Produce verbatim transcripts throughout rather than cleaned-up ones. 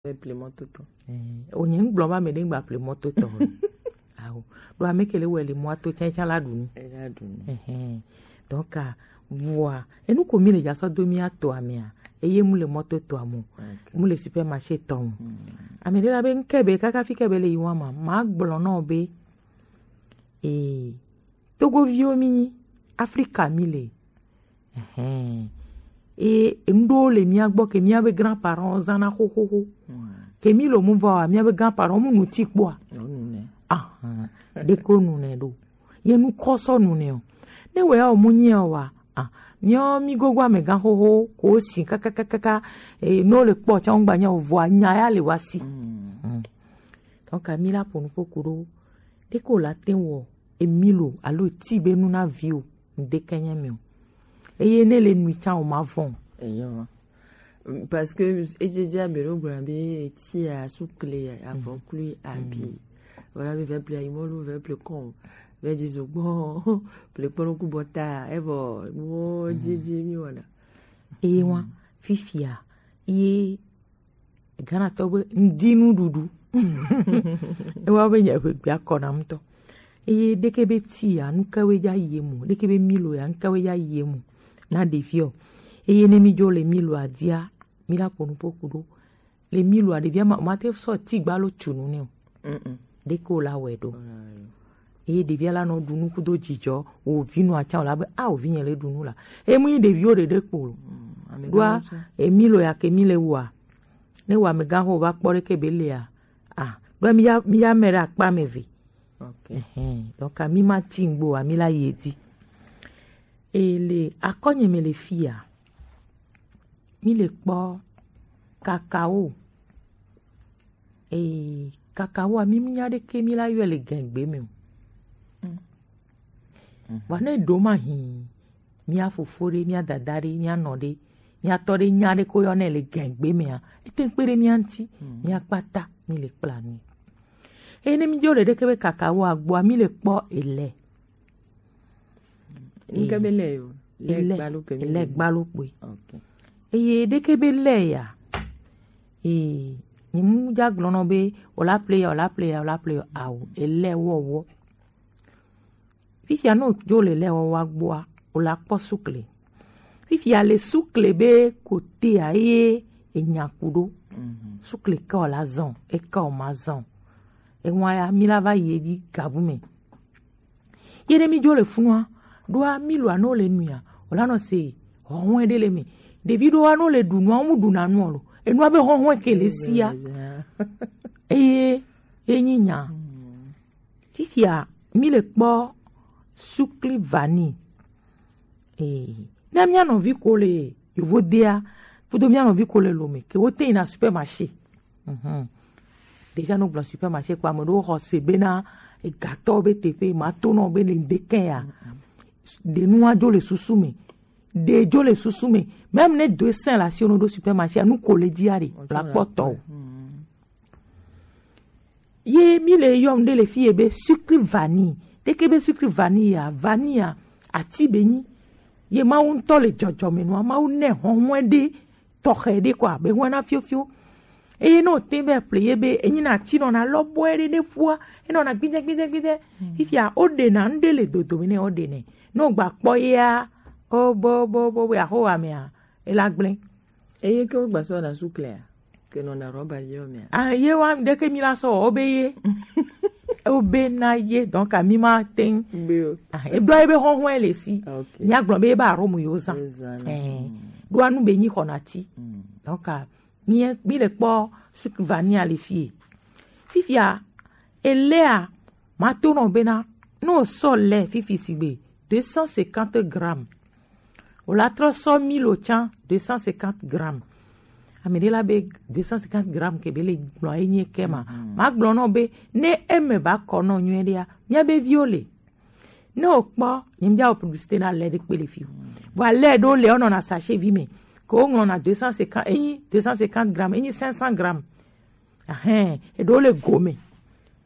Ple mɔto tɔ. Eh, o nye ŋgblɔ ba me ɖe ŋgba ple mɔto tɔ. Awo. Ɖo ame ke le wɔ le mɔto tsɛtsɛ la ɖu nu. E la ɖu nu. Ɛhɛn. Donc, ah, vɔa, enu ko mi le dza sɔ do mi ato amea, eye mu le mɔto tɔ amu. Ok. Mu le supermarché tɔ mu. Hmm. Ame ɖe la be ŋke be kaka fi ke be le yi wa ma, ma gblɔ nɔ be, eh, Togoviwo mi nyi, Afrika mi le. Ɛhɛn. E, ŋɖewo le mía gbɔ ke mía be grand-parents zãna xoxoxo. Hmm. Ke mí lo mu va wa, mía be grand-parents mu nu ti kpɔa. Wonu nɛ. Ahan. Ɖeko nu nɛ ɖo. Ye nu kɔ sɔ nu nɛ o. Ne wɛ o mu nyi o wa. Ah, mía mí gogo amegã xoxo ko si kakakakaka. E, no le kpɔ tsa ŋgba nya o vɔa nya ya le wa si. Hmm. Hmm. Donc, mi la ƒo nu ƒo ku ɖo. Ɖeko la te wɔ emi lo alo ti be nu na vi o. Ŋdeke nye mi o. Eye ne le nui tsã o ma vɔn. Eyo. Parce que edzedze abe ɖo gblɔ be tia sukle avɔklui abi. Voilà be vɛple ayimɔlu vɛple kɔn vɛ dzi zogbɔ ple kpɔnɔ ku bɔta evɔ nuwo dzedze mi wɔna. Eye wa fifia ye Ghana tɔ be ŋdi nuɖuɖu. Ewa be nye ƒe gbea kɔ na ŋutɔ. Eye ɖeke be ti ya, nukawe dza yi emu. Ɖeke be milo ya, nukawe dza yi emu. Na ɖeviɔ. Eye ne mi dzo le milo adia, mi la ƒo nu ƒo ku ɖo. Le milo a, ɖevia ma, ma te sɔ ti gbalo tsu nu nɛ o. Mm-mm. Ɖeke o la wɛ ɖo. Eye ɖevia la nɔ ɖu nu kudo dzidzɔ, wo vi nɔ atsã o la be, a, wo vi nye le ɖu nu la. Emu yi ɖeviwo ɖeɖe kpo lo. Mm, ame ɖoa, ɖewo tsã. Emi lo ya ke mi le wua. Ne wɔ amegã xo va kpɔ ɖeke be lea. A, ɖo mi ya, mi ya me ɖe akpa me ve. Ok. Ɛhɛn. Donc, mi ma ti ŋgbo, mi la yi edzi. E le akɔnye me le fia. Mi le kpɔ kakao. Ee, kakao a, mi nya ɖeke mi la yɔe le gɛngbe me o. Mm. Mhm. Vɔ ne ɖo ma hin, mia fofo ɖe, mia dada ɖe, mia nɔ ɖe, mia tɔ ɖe nya ɖe ko yɔ nɛ le gɛngbe mea, ete kpe ɖe mia ŋuti, mm, mia kpata mi le kpla nui. Eye ne mi dzo le ɖeke be kakao agboa, mi le kpɔ elɛ. Ŋke be lɛ yo? Lɛ gbalo ke mi lɛ gbalo kpoe. Ok. Eye ɖeke be lɛ ya. Ee, ni mu dza gblɔ nɔ be, o la ple ya, o la ple ya, o la ple ya, awo, elɛ wɔwɔ. Fifia no dzo le lɛ wɔwɔ agboa, o la kpɔ sukle. Fifia le sukle be kotea ye enya ku ɖo. Mhm. Sukle ke o la zɔn, e ke o ma zɔn. Ewa ya, mi la va yi edzi gabu me. Ye ne mi dzo le funua, ɖoa mi lo ano le nuia, o la nɔ se hɔhɔe ɖe le me. Ɖevi ɖoa no le ɖu nua, mu ɖu na nua lo. Enua be hɔhɔe ke le sia. Eye, ye nyi nya. Mm. Fifia, mi le kpɔ sukli vanille. Ee, ne mia nɔvi ko le yovodea, fudo mia nɔvi ko le lome, ke wo te yi na supermarché. Mhm. Déjà, no gblɔ supermarché kpa, ame ɖewo xɔ se bena egatɔ be teƒe ma to nɔ be le ŋdeke ya. Mm-mm. Ɖe nua dzo le susu me. Ɖe dzo le susu me. Même ne deux cents la si ono ɖo supermarché, nu ko le dzia ɖe, la kpɔtɔ o. Mm. Ye mi le yɔm ɖe le fi ye be sucre vanille. Ɖeke be sucre vanille ya, vanille ya, ati be nyi. Ye Mawu ŋutɔ le dzɔdzɔme nua, Mawu nɛ hɔhɔe ɖe tɔxɛ ɖe kɔa, be hɔe na fiofio. Eye ne o te be ple ye be, enyi na ati nɔna lɔbɔe ɖe ɖe ƒua, enɔna gbidɛ, gbidɛ, gbidɛ. Mm. Fifia, o ɖe na ŋɖe le dodome ne o ɖe nɛ. Ne o gba kpɔ yea, o bo, bo, bo, bo, aho wa mea, e la gblẽ. Eye ke wo gba sɔ na suklea, ke nɔna rɔba ye o mea. Ah, ye wa ɖeke mi la sɔ, o be ye. O be na ye, donc, a mi ma teŋ. Be o. Ah, e ɖo ye be hɔhɔe le si. Ok. Mia gblɔ be ye ba arome yo zan. Yo zan. Eh. Mm. Ɖo anu be nyi xɔna ti. Mm. Donc, a, mi, mi le kpɔ sucre vanille le fie. Fifia, elea, ma to nɔ bena, no sɔ le fifi sigbe, deux cent cinquante grammes. O la trɔ sɔ milo tsã, deux cent cinquante grammes. Ame ɖe la be deux cent cinquante grammes ke be le gblɔ enye ke ma. Mhm. Ma gblɔ nɔ be, ne eme ba kɔ nɔ nyuie ɖea, mia be viwo le. Ne o kpɔ, nye mia o publicité na lɛ ɖe kpe le fi o. Mhm. Vɔ lɛ ɖo le, o nɔ na sachet vi me. Ke o ŋlɔ na deux cent cinquante, enyi deux cent cinquante grammes, enyi cinq cents grammes. Ahɛn, eɖewo le gome.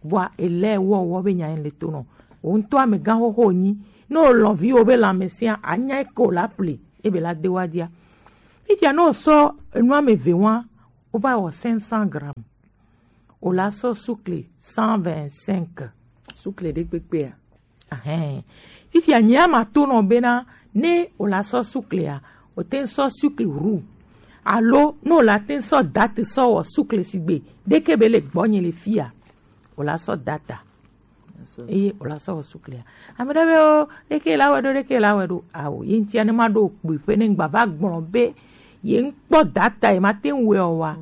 Vɔa, elɛ wɔwɔ be nya le to nɔ. Wo ŋutɔ amegã xoxo nyi. Ne o lɔn viwo be lãmesẽa, anya ke o la ple, ebe la de wa dia. Fifia ne o sɔ enu ame eve wa, Wova wɔ cinq cents grammes. Wòla sɔ sukle cent vingt-cinq. Sukle ɖe kpekpea? Ahɛn. Fifia nyea mato nɔ bena ne wòla sɔ suklea, wòte ŋu sɔ sukle roux. Alo ne wòla te ŋu sɔ date sɔ wɔ sukle sigbe ɖeke be le gbɔnye le fia, wòla sɔ data. Eye wòla sɔ wɔ suklea. Ame ɖe be o ɖeke la wɛ ɖo, ɖeke la wɛ ɖo. Awo ye ŋutia ne ma ɖo kpui ƒe ne ŋgba va gblɔ be ye ŋkpɔ data ye ma te ŋu wɛ o wa.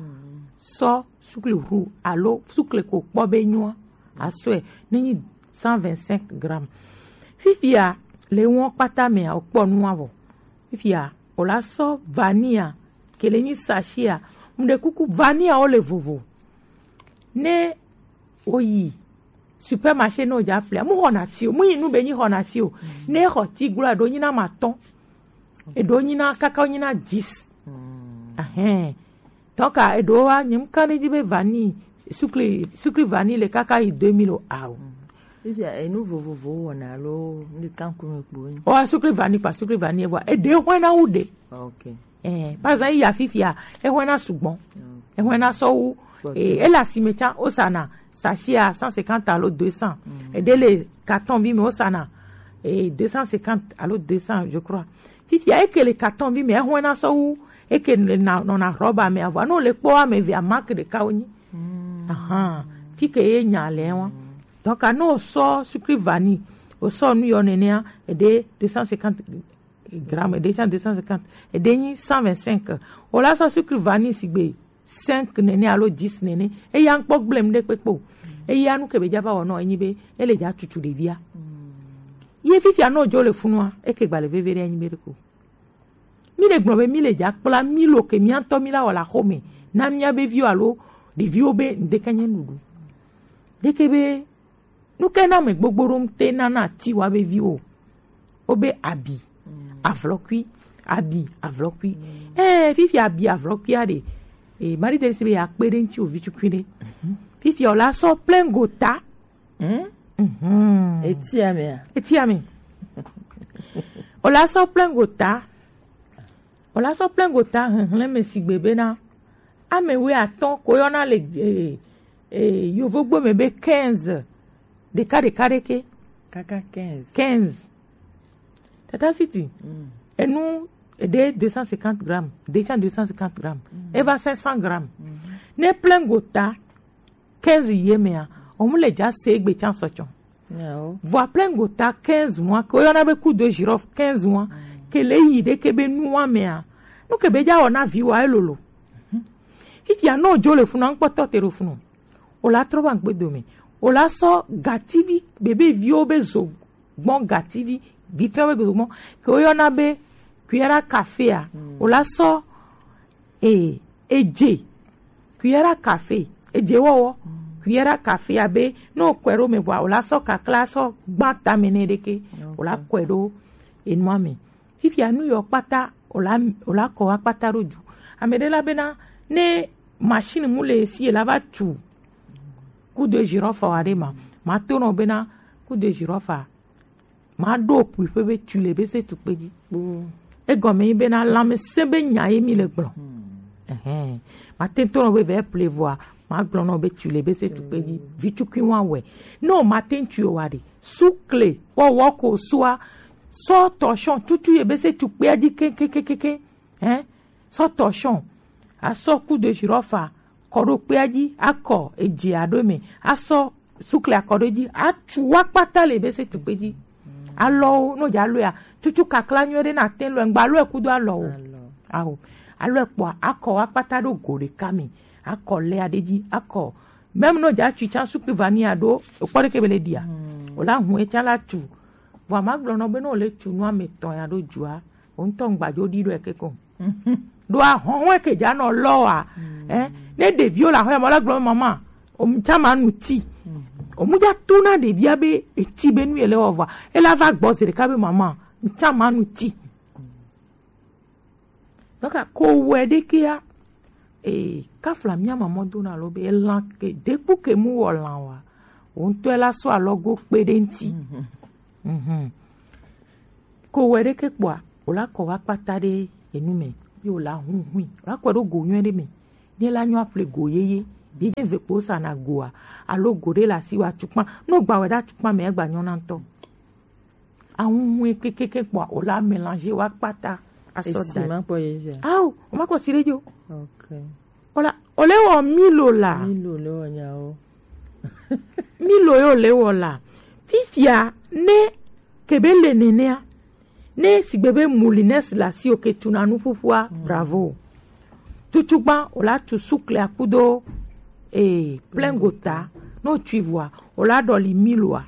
Sɔ sukle roux alo sukle ko kpɔ be nyoa. Asɔe ne nyi cent vingt-cinq grammes. Fifia le wɔn kpata mea wòkpɔ nua vɔ. Fifia wòla sɔ vanilla ke le nyi sachia. Mu ɖe kuku vanilla wo le vovo. Ne woyi supermarché ne wodza ƒlea, mu xɔna ti o, mu yi nu be nyi xɔna ti o. Ne xɔ ti glo eɖo nyina ma tɔn, eɖo nyina kaka nyina dix. Ahɛn. Donc eɖo wa nyem kan ɖe dzi be vanille, sukli sukli vanille le kaka yi deux mille o ao. Fifia enu vovovo wɔna alo nu ɖeka ŋkume kpo nyi? Wa sukli vanille kpa sukli vanille vɔ eɖe hwɛna wu ɖe. Ok. Eh, par exemple, iya fifia, ehwɛna sugbɔ. Ehwɛna sɔ wu, eh, ele asime tsã, wosana sachia cent cinquante alo deux cents. Eɖe le carton vi me, wosana, eh, deux cent cinquante alo deux cents, je crois. Fifia, eke le carton vi me, ehwɛna sɔ wu, eke le na, nɔna rɔba me, avɔ, no le kpɔ ame via marque ɖeka wonyi. Ahan, fike ye nya le wa. Donc, anu sɔ sucre vanille, o sɔ nu yɔ nenea, eɖe deux cent cinquante gramme, eɖe tsã deux cent cinquante, eɖe nyi cent vingt-cinq. Wòla sɔ sucre vanille sigbe cinq nene alo dix nene. Eya ŋkpɔ gblem ɖe kpekpe o. Eya nu ke be dza va wɔ nɔ enyi be ele dza tutu ɖevia. Ye fifia no dzo le funua, eke gba le veve ɖe enyi be ɖeko. Mi le gblɔ be mi le dza kpla mi lo ke miatɔ mi la wɔ la xome na mia be viwo alo ɖeviwo be ŋdeke nye nuɖuɖu. Ɖeke be nu ke na me gbogbo ɖo ŋute nana ti wa be viwo. Wo be abi, avlɔkui, abi, avlɔkui. Eh, fifia abi, avlɔkuia ɖe. Eh, Marie Therese be ya kpe ɖe ŋuti o vi tukui ɖe. Fifia o la sɔ plein gota. Eti ame a? Eti ame. O la sɔ plein gota. O la sɔ plein gota hehlẽ me sigbe bena ame wuiatɔ̃ ko yɔna le, eh, eh, yovogbo me be quinze. Ɖeka ɖeka ɖeke. Kaka quinze. Quinze. Tata Sweety. Enu eɖe deux cent cinquante grammes, ɖe tsã deux cent cinquante grammes. Eva cinq cents grammes. Ne plein gota quinze ye mea, o mu le dza se egbe tsã sɔ tsɔ. Vɔ plein gota quinze mois, ke woyɔna be coup de girofle quinze mois, ke le yi ɖeke be nua mea, nu ke be dza wɔ na vi wa elolo. Fifia no dzo le funu, ŋkpɔtɔ te ɖo funu. O la trɔ va ŋkpe dome. O la sɔ gativi, bebe viwo be zo gbɔn gativi, vi fɛn be zo gbɔn, ke woyɔna be cuillère à café a. O la sɔ, eh, edze, cuillère à café, edze wɔwɔ, cuillère à café abe, ne wokɔe ɖo me vɔa, o la sɔ kakla sɔ gba tame ne ɖeke, o la kɔe ɖo enua me. Fifia nu yɔ kpata, o la, o la kɔ wa kpata ɖo dzu. Ame ɖe la bena, ne machine mu le esi, e la va tu coup de girofle wa ɖe ma, ma to nɔ bena coup de girofle a, ma ɖo kpuiƒe be tu le be se tukpe dzi. Egɔme nyi bena lãmesẽ be nya ye mi le gblɔ. Ɛhɛn. Ma te to nɔ be vɛ ple vɔa, ma gblɔ nɔ be tu le be se tukpe dzi. Vi tukui wa wɛ. No ma te tu wa ɖe. Sukle, wɔ wɔ ko sua, sɔ tɔshɔn tutu ye be se tukpea dzi keŋkeŋkeŋkeŋ. Hein? Sɔ tɔshɔn. Asɔ coup de girofle kɔ ɖo kpea dzi, akɔ edzia ɖo eme, asɔ sukle akɔ ɖo edzi, atu wa kpata le be se tukpe dzi. Alɔwo, no dza lɔea, tutu kakla nyuie ɖe na te lɔe, ŋgba lɔe kudo alɔwo. Awo. Alɔe kpɔa, akɔ wa kpata ɖo go ɖeka me, akɔ lea ɖe dzi, akɔ. Même no dza tu tsã sukle vanilla ɖo, ekpɔ ɖeke be le ɖia. O la hun etsã la tu. Vɔ ma gblɔ nɔ be no le tu nua me tɔ ya ɖo dzua, o ŋutɔ ŋgba dzo ɖi ɖo eke ko. Ɖo ahɔn wɛ ke dza nɔ lɔ wa. Eh, ne ɖeviwo le aƒe mɔ la gblɔ be mama, o mu tsã ma nu ti. O mu dza to na ɖevia be eti be nu ye le wɔ vɔa, ela va gbɔ zi ɖeka be mama, mu tsã ma nu ti. Donc ko wɛ ɖekea, eh, kafla mia mamɔ dona lo be elan ke dekpu ke mu wɔ lan wa. O ŋutɔ la sɔ alɔgo kpe ɖe ŋti. Mhm. Ko wɛ ɖeke kpɔa, o la kɔ wa kpata ɖe enu me, ye o la hun hui, o la kɔe ɖo go nyuie ɖe me. Ne la nyɔ aƒle go yeye, bi ne ve kpo sa na goa, alo go ɖe le asi wa tukpa. No gba wɛ ɖe tukpa me egba nyɔ na ŋutɔ. Ahunhun kekeke kpɔa, o la mélanger wa kpata. Asɔ Esi da. Ma kpɔ ye zia. Awo, o ma kpɔ si ɖe jo. Ok. O la, o le wɔ Milo la. Milo le wɔ nyawo. Milo yo le wɔ la. Fifia ne kebe le nenea. Ne sigbe be moulinette la si o ke tuna nu ƒuƒua, bravo. Tutsugba o la tu sukle akudo, eh, plein gota. No tui vua, o la ɖɔli Miloa.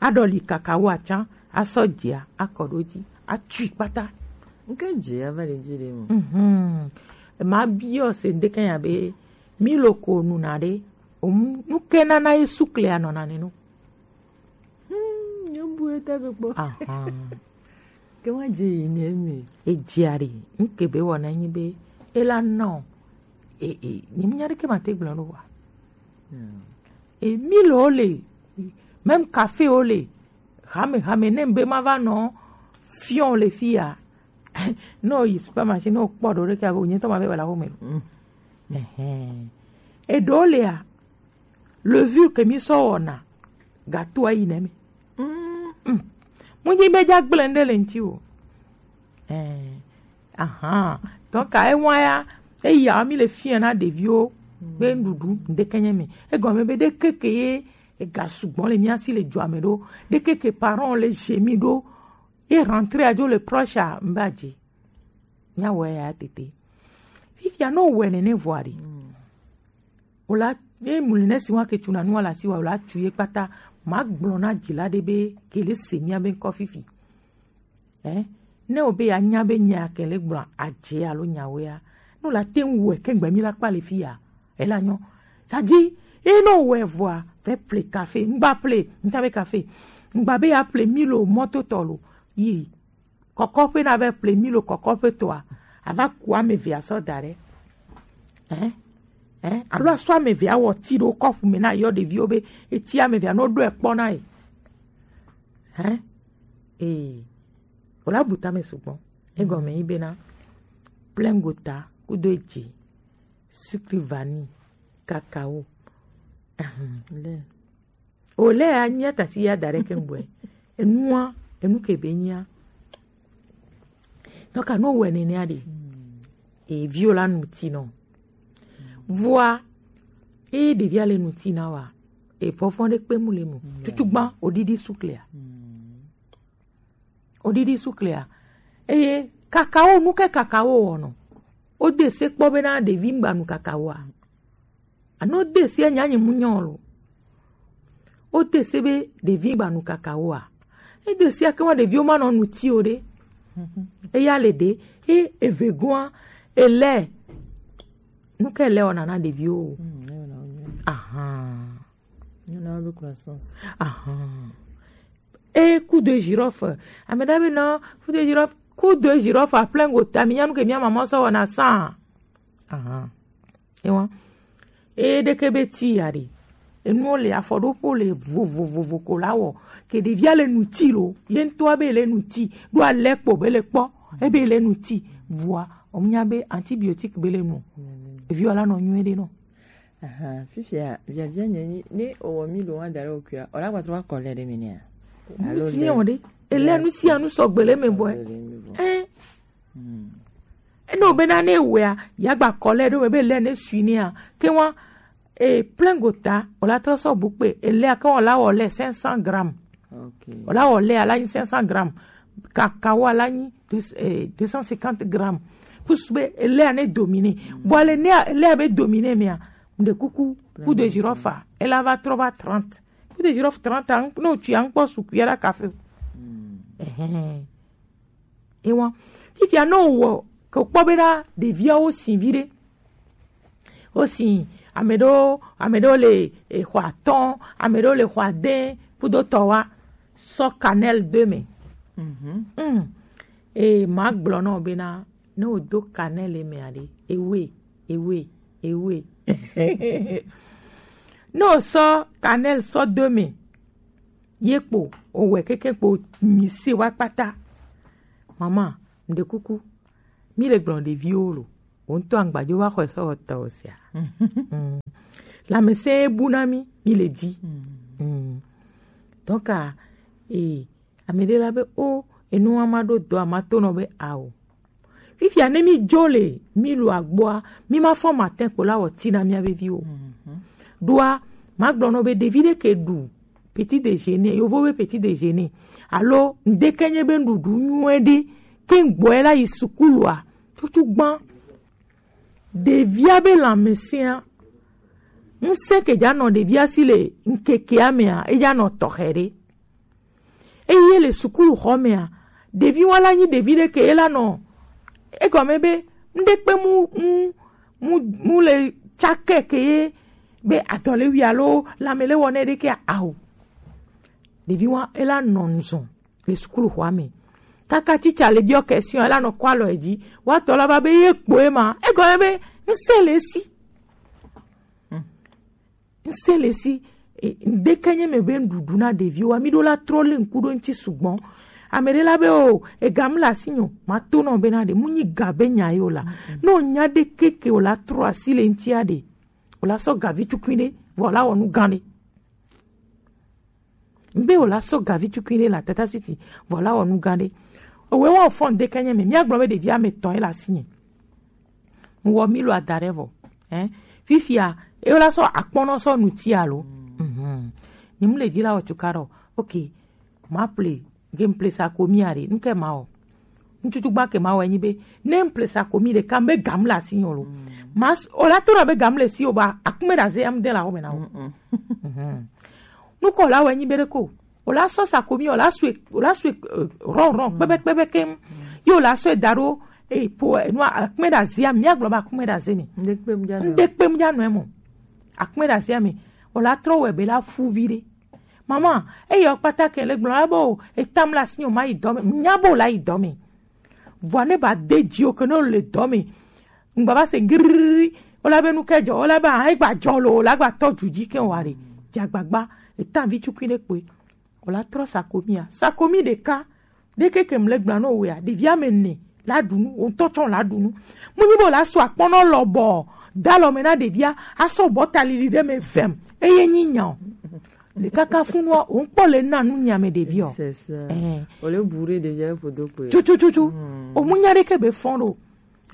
Aɖɔli kakao atsã, asɔ dzia, akɔ ɖo dzi, atui kpata. Nke dze ava le dzi ɖe mo. Mhm. Ma biɔ se ŋdeke ya be, Milo ko nuna ɖe, omu, nu ke nana ye sukle anɔna ne no. Hmm, nyebu eta be kpɔ. Ahan. Ke wa dze yi ne me. Edzia ɖe, nke be wɔna nyi be, ela nɔ, e, e, nyi mi nya ɖe ke ma te gblɔ no wa. Hmm. E, Milo le, même café o le, hame, hame, ne be ma va nɔ, fion le fia. No yi supermarché, no kpɔ ɖo ɖe ke abe, o nye tɔ ma be wala wo me. Mm. Ɛhɛn. Eɖewo lea, levure ke mi sɔ wɔna, gatoa yi nɛ me. Mm. Mm. Mu nyi be dza gblẽ ɖe le ŋti o. Eh, ahan. Donc, à un moyen, eya mi le fia na ɖeviwo be nuɖuɖu ŋdeke nye me. Egɔme be ɖekeke ye ega sugbɔ le mia si le dua me ɖo. Ɖekeke parents le chez mi ɖo. E rentré adzo le proche a mba dzi. Nya wɔ ya tete. Fifia no wɔ nene vɔa ɖi. O la, ye moulinette si wa ke tuna nua la si wa, o la tu ye kpata. Ma gblɔ na dzila ɖe be ke le se mia be ŋkɔ fifi. Eh? Ne o be ya nya be nya ke le gblɔ adze alo nya wea. No la te ŋu wɔ ke gbe mi la kpa le fia. Ela nyɔ. Ça dit, e no wɔ vɔa, fɛ ple café, ŋgba ple, ŋta be café. Ŋgba be ya ple Milo mɔto tɔ lo. Yi. Kɔkɔƒe na va ƒle Milo kɔkɔƒe tɔa, ava ku ame eve asɔ da ɖe. Ɛ? Ɛ? Alo asɔ ame eve awɔ ti ɖo kɔpu me na yɔ ɖeviwo be eti ame eve anɔ ɖo ekpɔ na ye. Ɛ? Ee. Wòla bu tame sugbɔ. Egɔme yi bena plein gota kudo edze, sucre vanille, cacao. Ahem. Le. O le ya nyia tasi ya da ɖe ke ŋgbɔe. Enua, enu ke be nyia. Donc, anu wɔ nenea ɖe. E viwo la nu ti nɔ. Vɔa, e ɖevia le nu ti na wa. E fɔfɔ ɖe kpe mu le nu. Tutu gban, o ɖiɖi suklea. O ɖiɖi suklea. Eye kakao, nu ke kakao wɔnɔ. O de se kpɔ bena ɖevi ŋgba nu kakaoa. Anu de se nya nyi mu nyɔ lo. O de se be ɖevi ŋgba nu kakaoa. E de se ake wa ɖeviwo ma nɔ nu ti o ɖe. Eya le ɖe. E eve goa, ele. Nu ke le wɔna na ɖeviwo. Ahan. Nyɔna be croissance. Ahan. E coup de girofle. Ame ɖe be non, coup de girofle, coup de girofle à plein gota. Mi nya nu ke mia maman sɔ wɔna sa. Ahan. Ewa. E ɖeke be ti ya ɖe. Enuwo le afɔɖoƒo le vovovovo ko la wɔ. Ke ɖevia le nu ti lo. Ye ŋutɔa be le nu ti. Ɖo alɛ kpo be le kpɔ. Ebe le nu ti. Vɔa, o nya be antibiotique be le nu. Ɖeviwo la nɔ nyuie ɖe nɔ. Ahan, fifia, biabia nye nyi, ne owɔ mi lo wa da ɖe okuia, o la gba trɔ wa kɔ lɛ ɖe mi nea? Alo le. Ele nu sia nu sɔgbe le me bɔe. Sɔgbe le me bɔe. Eh. Hmm. Eno bena ne wea, ya gba kɔ lɛ ɖo me be le ne sui nea. Ke wa, e, plein gota, o la trɔ sɔ bu kpe, ele ake wa la wɔ le cinq cents grammes. Ok. O la wɔ le ala nyi cinq cents grammes. Kakao ala nyi deux, eh, deux cent cinquante grammes. Kusu be, ele ane domine. Bon, ale ne, ele abe domine mea, mde kuku, coup de girofle. Ele ava trɔ va trente. Coup de girofle trente, an-, no tu an kpɔ sukuya la café. Ehe. Ewa. Fifia no wɔ, ke kpɔ bena, ɖeviawo si viɖe. Aussi, ame ɖewo, ame ɖewo le, eh, xɔ atɔ̃, ame ɖewo le xɔ ade, kudo tɔ wa, sɔ cannelle de me. Mhm. Mm. Eh, ma gblɔ nɔ bena, ne o do cannelle me aɖe, ewe, ewe, ewe. Ne o sɔ cannelle sɔ de me, ye kpo, o wɛ keke kpo, mi se wa kpata. Mama, mde kuku, mi le gblɔ ɖeviwo lo. Wo ŋutɔ agbadzo va xɔe sɔ wɔ tɔ o sia. Mm. Lãmesẽ bu na mí, mí le di. Mm. Donc, a, e, ame ɖe la be, o, enu wa ma ɖo dɔ a ma to nɔ be ao. Fifia ne mí dzo le mí lo agboa, mí ma fɔ matin kpo la wɔ ti na mía be viwo. Mhm. Ɖoa, ma gblɔ nɔ be ɖevi ɖe ke ɖu petit déjeuner, yovo be petit déjeuner. Alo ŋdeke nye be nuɖuɖu nyuie ɖe, ke ŋgbɔe la yi sukulua, tutu gbã. Ɖevia be lãmesẽa, ŋsẽ ke dza nɔ ɖevia si le ŋkekea mea, edza nɔ tɔxɛ ɖe. Eye le sukuxɔ mea, ɖevi wa la nyi ɖevi ɖe ke ye la nɔ egɔme be ŋɖe kpe mu mu mu mu le tsake ke ye be adɔlewi alo lãme le wɔna ɖe ke ao. Ɖevi wa ela nɔ nuzɔn le sukuxɔa me. Kaka titsa le biɔ question ela nɔ kɔ alɔ edzi. Wa tɔ la va be ye kpoe ma. Egɔme be ŋsẽ le esi. Ŋsẽ le si, e, ŋdeke nye me be nuɖuɖu na ɖeviwo, mi ɖo la trɔ le ŋku ɖo ŋti sugbɔ. Ame ɖe la be o, ega mu le asi nyo, ma to nɔ be na ɖe, mu nyi ga be nya yo la. Mm, mm. No nya ɖe keke o la trɔ asi le ŋtia ɖe, o la sɔ ga vi tukui ɖe, vɔ la wɔ nu gã ɖe. Ŋbe o la sɔ ga vi tukui ɖe la tata suiti, vɔ la wɔ nu gã ɖe. Owe wɔ fɔ ŋdeke nye me, mia gblɔ be ɖevi ame tɔn ye la asi nye. Ŋwɔ mi lo ada ɖe vɔ. Hein? Fifia, e la sɔ akpɔnɔ sɔ nuti alo. Mhm. Ni mu le dzi la wɔ tuka ɖɔ. Ok. Ma ple, ge m ple sa ko mi are. Nuke ma o. Ŋtutu gba ke ma wɔ enyi be. Ne m ple sa ko mi ɖeka, m be gam le asi nyɔ lo. Ma s-, o la to na be gam le si o ba, akume ɖe aze ya m de la wo me na o. Mhm. Nukɔ la wɔ enyi be ɖe ko. O la sɔ sakomi, o la sue, o la sue, eh, rɔn, rɔn, kpɛbɛ, kpɛbɛ keŋ. Ye o la sɔe da ɖo, eh, po, eh, nua, akpɛ ɖe azia, mia gblɔ be akpɛ ɖe aze me. Ŋɖe kpem dza nɔ. Ŋɖe kpem dza nɔ emo. Akpɛ ɖe azia me. O la trɔ wɛ be la fu vi ɖe. Mama, eya o kpata ke le gblɔ la be o, etam la si o ma yi dɔ me. Nya be o la yi dɔ me. Vɔa ne ba de dzi o ke ne o le dɔ me. Ŋgba va se giriri. O la be nu ke dzɔ, o la be a, egba dzɔ lo, o la gba tɔ du dzi ke o wa ɖe. Dze agbagba, etan vi tukui ɖe kpoe. O la trɔ sakomia. Sakomi ɖeka. Ɖe keke mle gbla no wea. Ɖevi ame ne. La ɖu nu, o ŋutɔ tsɔ la ɖu nu. Mu nyi be o la sɔ akpɔnɔ lɔbɔ. Da lɔ me na ɖevia. Asɔ bɔ ta lili ɖe me vem. Eye nyi nya o. Ɖeka ka funua, o ŋkpɔ le na nu nya me ɖevi o. C'est ça. Eh. O le bourré ɖevia ƒodo kpoe. Tutututu. Hmm. O mu nya ɖe ke be fɔn ɖo.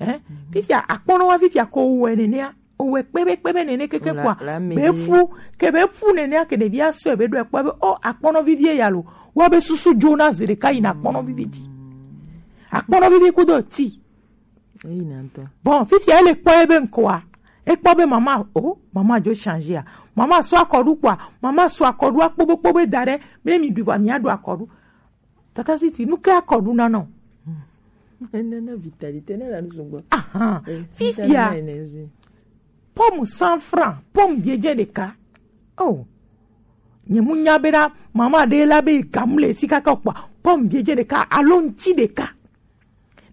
Eh? Fifia, akpɔnɔ wa fifia ko wɛ nenea. O wɛ kpɛbɛ, kpɛbɛ nene keke la, kua. La me be fu, ke be fu nenea ke ɖevia sɔe be ɖo ekpɔ be, o, akpɔnɔ vivie ya lo. Wa be susu dzona zi ɖeka yi na akpɔnɔ vivi dzi. Akpɔnɔ vivi kudo ti. Eyi na ŋutɔ. Bon, fifia ele kpɔ ebe ŋkɔa. Ekpɔ be mama, o, mama dzo changer a. Mama sɔ akɔɖu kpɔa. Mama sɔ akɔɖu akpɔ be kpɔ be da ɖe. Be mi ɖu va mia ɖu akɔɖu. Tata Sweety, nu ke akɔɖu na nɔ? Enana vitalite ne la nu sugbɔ. Ahan. Eh, fifia. Vitamine énergie. Pomme cent francs, pomme biedze ɖeka. Oh. Nye mu nya be na mama ɖe la be gamu le si kaka kpɔ. Pomme biedze ɖeka, alo ŋti ɖeka.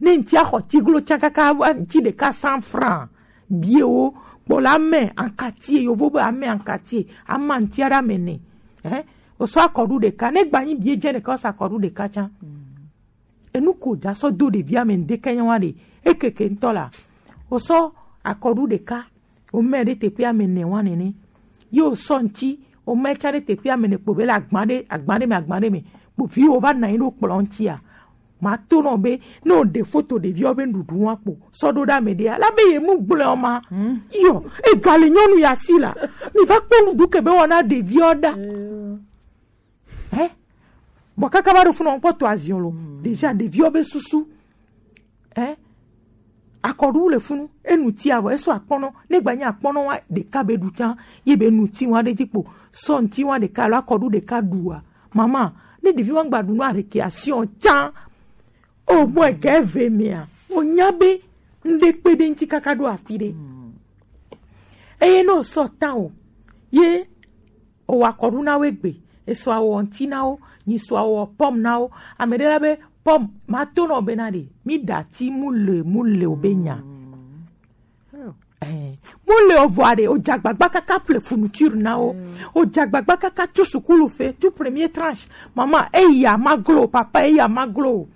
Ne ŋti axɔ tiglo tsa kaka, ŋti ɖeka cent francs. Biewo, kpɔ la ame ankatie, yovo be ame ankatie, ama ŋtia ɖe ame ne. Eh? O sɔ akɔɖu ɖeka, ne gba nyi biedze ɖeka, o sɔ akɔɖu ɖeka tsa. Enu ko dza sɔ do ɖevi ame ŋdeke nya wa ɖe, ekeke ŋutɔ la. O sɔ akɔɖu ɖeka, o mɛ ɖe teƒe ame ne wa nene. Ye o sɔ ŋti, o mɛ tsa ɖe teƒe ame ne kpo be le agba ɖe, agba ɖe me, agba ɖe me. Kpo viwo va na anyi ɖo kplɔ ŋtia. Ma to nɔ be, ne o ɖe foto ɖeviwo be nuɖuɖu wa kpo, sɔ ɖo ɖe ame ɖe, la be ye nu gblɔ ma. Hmm. Yo, egali nyɔnu ya si la. Mi va kpɔ nuɖu ke be wɔna ɖeviwo ɖa. Eh. Bɔ kaka va ɖo funu kpɔ to aziɔ lo. Hmm. Déjà ɖeviwo be susu. Eh? Akɔɖu le funu, enu ti avɔ, eso akpɔnɔ, ne gba nye akpɔnɔ wa ɖeka be ɖu tsa, ye be nu ti wa ɖe dzi kpo, sɔ ŋti wa ɖeka alo akɔɖu ɖeka ɖu wa. Mama, ne ɖevi wa gba ɖu nu a récréation tsa, o mɔ ege ve mea, o nya be ŋɖe kpe ɖe ŋti kaka ɖo afi ɖe. Eye ne o sɔ ta o, ye o wa akɔɖu na wo egbe, e sɔ awɔ ŋti na wo, nyi sɔ awɔ pomme na wo. Ame ɖe la be pomme, ma to nɔ be na ɖe, mi ɖa ti mu le, mu le o be nya. Eh, mu le o vɔ aɖe, o dza agbagba kaka ple fourniture na wo. O dza agbagba kaka tu sukulu fe, tu premier tranche. Mama, eya ma glo, papa, eya ma glo.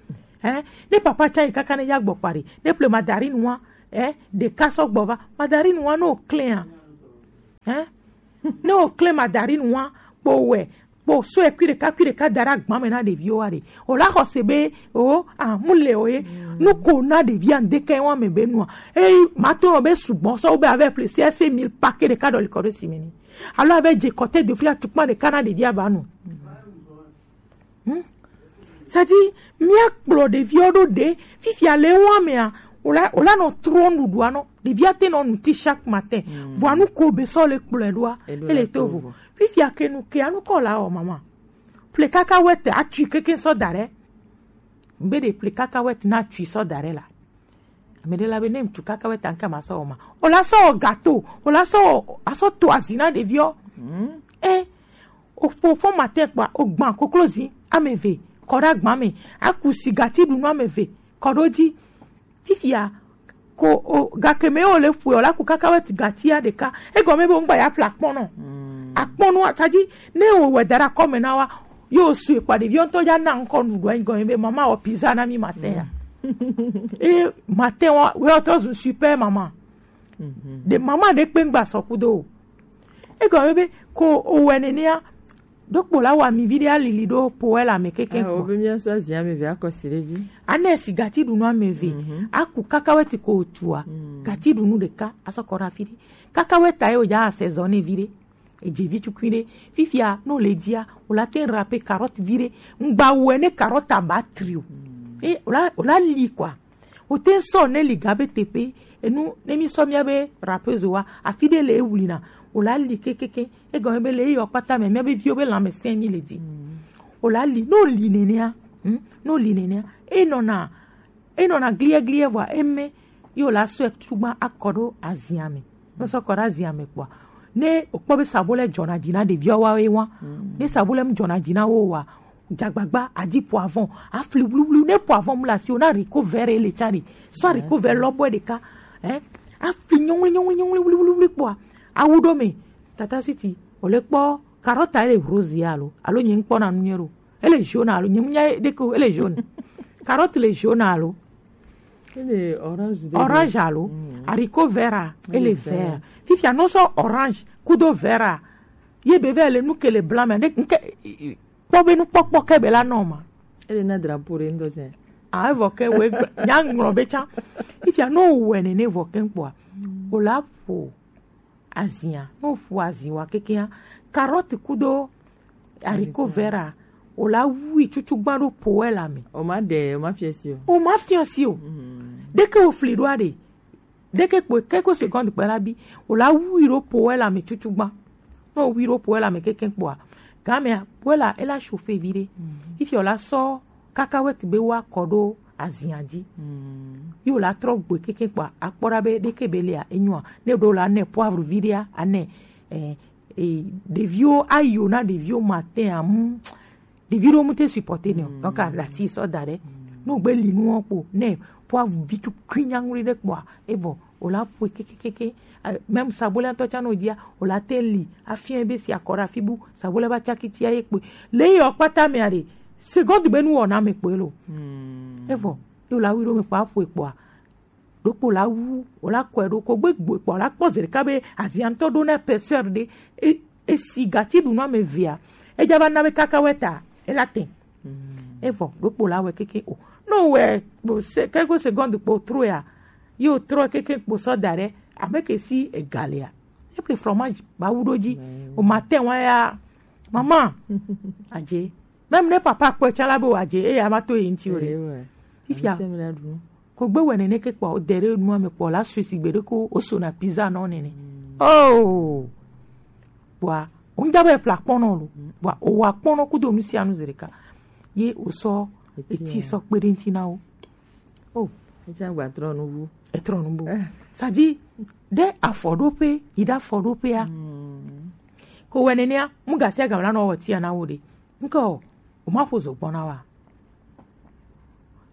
Eh, ne papa tsa yi kaka ne ya gbɔ kpa ɖe, ne ple mandarine wa, Eh, ɖeka sɔ gbɔ va. Mandarine wa ne o klɛn a. Eh? Ne o klɛn mandarine wa kpo wɛ kpo so ekui ɖeka kui ɖeka da ɖe agba me na ɖeviwo wa ɖe. O la xɔ se be o a mu le o ye. Nu ko na ɖevia ŋdeke wa me be nua. Eyi ma to be sugbɔ sɔ be avec plaisir se mille paquet ɖeka ɖɔ li kɔ ɖe si me ni. Alo avec je kɔte de fria tukpa ɖeka na ɖevia ba nu. Hmm? C'est-à-dire, míakplɔ ɖeviwo ɖo ɖe fifia le wa mea, wòla wòla nɔ trɔ nuɖuɖua nɔ. Ɖevia te nɔ nu ti chaque matin. Vɔa nu ko be sɔ le kplɔe ɖoa, ele to vo. Fifia ke nu ke anu kɔ la o mama. Ple kaka wete atui keke sɔ da ɖe. Mbe ɖe ple kaka wete na atui sɔ da ɖe la. Ame ɖe la be ne ŋutsu kaka wɛ tanka ma sɔ wɔ ma. O la sɔ wɔ gato, o la sɔ wɔ asɔ to azi na ɖeviɔ. E o fo fo ma tɛ kpa o gban koklozi ame ve kɔ ɖe agba me, aku sigati ɖunu ame ve kɔ ɖo dzi. Fifia ko o gake me o le fue o la ku kaka wɛ ti gatia ɖeka. Egɔme be o ŋgba ya ƒle akpɔnɔ. Akpɔnɔ atadzi ne o wɛ da ɖe akɔme na wa. Yo sue kpa ɖeviɔ ŋutɔ ya na ŋkɔ nuɖuɖua egɔme be mama wɔ pizza na mi matin ya. E matin wa wɛ ɔtɔ zu super mama. De mama ɖe kpe ŋgba sɔ kudo o. Egɔme be ko o wɛ nenea ɖo kpo la wa mi vi ɖe alili ɖo po wɛ la me keke. Awo be mia sɔ zi ame ve akɔ si ɖe dzi. Ane sigati ɖunu ame ve. Aku kaka wɛ ti ko otua. Gati ɖunu ɖeka asɔ kɔ ɖe afi ɖe. Kaka wɛ ta ye o ja asezɔ ne vi ɖe. Edze vi tukui ɖe. Fifia ne wòle dzia wòla te râper carotte vi ɖe. Ŋgba wɔe ne carotte aba tri o. E wòla wòla li kɔa. Wòte sɔ ne li ga be teƒe enu ne mi sɔ mia be râpeuse wa afi ɖe le ewlina. Wòla li kekeke egɔme be le eyɔ kpata me mia be viwo be lãmesẽ mi le dzi. Wòla li ne wòli nenea. Hmm? Ne wòli nenea enɔna enɔna gliɛgliɛ vɔa eme ye wòla sɔe tugba akɔ ɖo azia me. Ne sɔ kɔ ɖe azia me kpɔa ne wòkpɔ be sabo lɛ dzɔna dzi na ɖeviawo wa ye wa. Ne sabo lɛ mu dzɔna dzi na wo wa dzagbagba adi poivron afli wluwlu ne poivron mu le asi o na riko vɛ ɖe le tsa ɖe sɔ riko vɛ lɔbɔe ɖeka. Eh? Afli nyɔŋli nyɔŋli nyɔŋli wluwlu kpɔa awu ɖo me tata siti wòle kpɔ karɔta ele rose ya alo alo nye ŋkpɔ na nu nye ɖo. Ele jaune alo nye munya ɖeke o, ele jaune. Carotte le jaune alo? Ele orange ɖe. Orange alo? Haricot vert a, ele vert. Fifia no sɔ orange kudo vert a. Ye be vɛ le nu ke le blanc me. Nke kpɔ be nukpɔkpɔ ke be la nɔ ma. Ele na drapeau ɖe ŋdɔ tsɛ. Ah, evɔ ke we nya ŋlɔ be tsã. Fifia no wɛ nene vɔ ke kpɔa. O la ƒo azia, ne woƒo azi wa kekea, carotte kudo haricot vert a, wòla wui tutugbã ɖo po wɛ la me. O ma ɖe, o ma fiɔ si o. O ma fiɔ si o. Ɖeke wofli ɖoa ɖe. Ɖeke kpo keke seconde kpe la bi. Wòla wui ɖo po wɛ la me tutugbã. Ne wowui ɖo po wɛ la me keke kpoa, gamea po wɛ la ela chauffer vi ɖe. Fifia wòla sɔ kaka wɛ ti be woakɔ ɖo azia dzi. Ye wòla trɔ gbɔe keke kpɔa akpɔ ɖa be ɖeke be lia enyoa ne ɖo la ne poivre vi ɖea ane. Eh, eh, ɖeviwo ayo na ɖeviwo matin amu ɖevi ɖewo mu te supporter ne o donc aɖasi sɔ da ɖe ne wogbe li nuwo kpo ne poivre vi tukui nyaŋui ɖe kpɔa evɔ wòla ƒoe kekekeke. Même sabolɛ ŋutɔ tsã no dzia wòla te li afiɔ be si akɔ ɖe afi bu sabolɛ va tsaki tsia ye kpoe le yi ɔ kpata mea ɖe seconde be nu wɔna me kpoe lo. Evɔ ye wòla wi ɖo me kpɔa ƒoe kpɔa ɖokpo la wu wòla kɔe ɖo ko gbegbe kpɔa la kpɔ zi ɖeka be azia ŋutɔ ɖo na épaisseur ɖe e- esi gati ɖu nua me vea edza va na be kaka wɛ ta ela te. Evɔ ɖokpo la wɛ keke o no wɛ kpo se- quelques secondes kpo troe a ye o trɔ keke kpo sɔ da ɖe ame ke si egalea. Eple fromage ba wu ɖo dzi o ma te wa ya mama adze même ne papa kpɔe tsã la be wòadze eye ava to ye ŋuti o ɖe. Fifia ko gbe wɛ nene ke kpɔ de ɖe nua me kpɔ la sue si gbe ɖe ko wosona pizza nɔ nene. Oh kpɔa wonja be epla kpɔnɔ lo kpɔa owa kpɔnɔ kudo nu sia nu zi ɖeka ye wosɔ eti sɔ kpe ɖe ŋuti na wo. Oh. Etsã gba trɔ nu bu. Etrɔ nu bu. Sadi ɖe afɔɖoƒe yi ɖe afɔɖoƒea ko wɛ nenea mu gasi agam la nɔ wɔ tia na wo ɖe ŋkɔ o ma ƒo zogbɔn na wa.